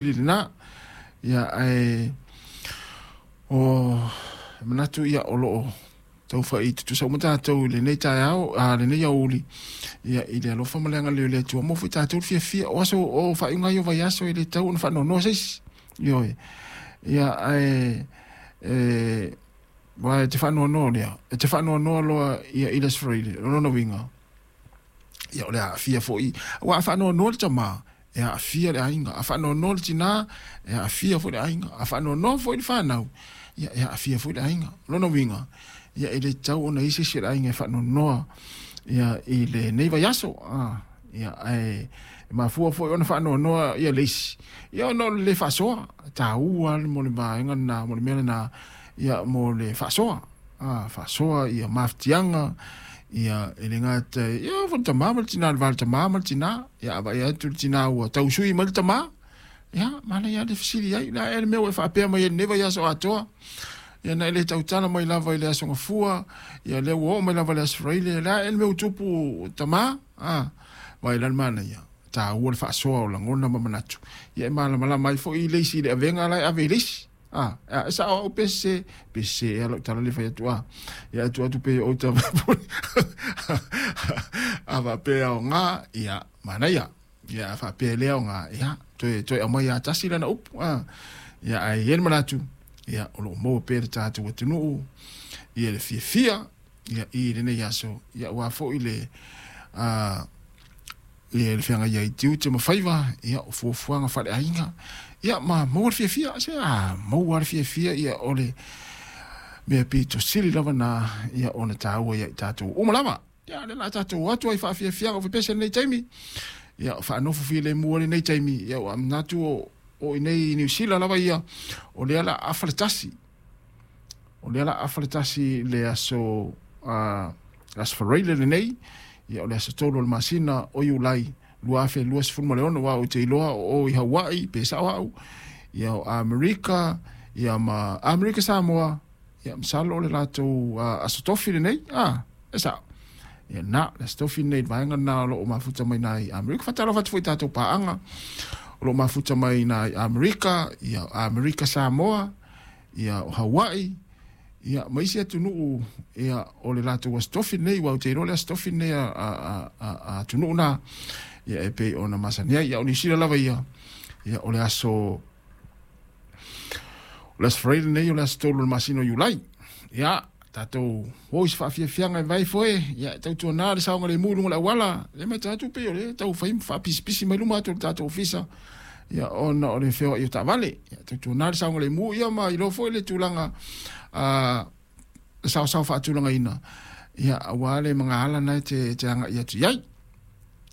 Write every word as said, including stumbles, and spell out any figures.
Lena ia ae o manatu ia o loo taufai tutusa uma tatou i lenei taeao a lenei aoauli ia i le alofa ma le agalelei o le Atua mo foi tatou le fiafia o aso o faaiuga ia o vaiaso e le tatau ona faanoanoa se isi. Ioe ia ae e aua e te faanoanoa lea e te faanoanoa loa ia i le Aso Faraile o lona uiga ia o le aafia foi aua a faanoanoa le tamā e aafia le aiga, a faanoanoa le tinā e aafia foi le aiga, a faanoanoa foi le fanau ia e aafia foi le aiga. O lona uiga ia e le tatau ona i ai se isi o le aiga e faanoanoa ia i lenei vaiaso a ia ae e mafua foi ona faanoanoa ia le isi ia ona o le le faasoa taua mo le vaega lena mo le mea lena ia mo le faasoa a faasoa ia mafatiaga ia e le gata ia foi le tamā ma le tinā le va o le tamā ma le tinā ia a vaai atu le tinā ua tausui mai le tamā ia manaia lava le fesili ai le a ea le mea ua e faapea mai ai i lenei vaiaso atoa ia na e le tautala mai lava i le Aso Gafua ia lea ua oo mai lava i le Aso Faraile le a ea le mea ua tupu tamā a vaai la le manaia taua le faasoa o lagona ma manatu ia e malamalama ai foi le isi i le avega la e ave i le isi. A, e sao au pe sese, pe sese ea lau tala le fai atu a. Ia atu atu pe o ta a faapea aoga, ia, manaia. Ia, a faapea e le aoga, ia, toe, toe aumai lava tasi lana upu. A, ia, ae i ai le manatu, ia, o lo o maua pea le tatou atunuu, ia le fiafia, ia, i lenei aso, ia, aua foi le, a, ia le feagai ai i tiute ma faiva, ia, o fuafuaga faaleaiga, ia, ma maua le fiafia, se a maua le fiafia, ia, o le mea pito sili lava na, ia, ona taua ia i tatou uma lava. Ia, lea o le a tatou o atu ai faafiafiaga o fepese lenei taimi, ia, o faanofo filemu ai lenei taimi, ia, ua manatu o, o i nei i Niu Sila lava ia, o lea o le a afa le tasi, o lea o le a afa le tasi le aso, uh, le Aso Faraile lenei, ia o le aso tolu o le masina o Iulai lua afe luasefulu ma le ono, aua ou te iloa o o i Hawaii, pe sao au, ia o Amerika, ia ma Amerika Samoa, ia masalo o le latou uh, aso tofi lenei, ah, e sao. Ia na, le aso tofi lenei, le vaega lena o lo o mafuta mai na i Amerika. Faatalofa atu foi i tatou paaga o lo o mafuta mai na i Amerika, ia Amerika Samoa, ia o Hawaii, ia ma isi atunuu ia o le latou aso tofi lenei, aua ou te iloa le aso tofi lenei a, a, a, a, a atunuu na, ia e pei ona masani ai. Ia o Niu Sila lava ia, ia o le aso, o le Aso Faraile lenei, o le aso tolu o le masina o Iulai. Ia, tatou o i se faafiafiaga e vai foe, ia e tautuana le saogalemu i luga o le auala, lea e matau atu pei o lea e tau fai ma faapisipisi mai luma atu o le tatou ofisa, ia ona o le feoai o taavale. Ia tautuana le saogalemu ia ma iloa foi le tulaga a le saosao faatulagaina, ia aua le magaala na e te, te agai atu i ai.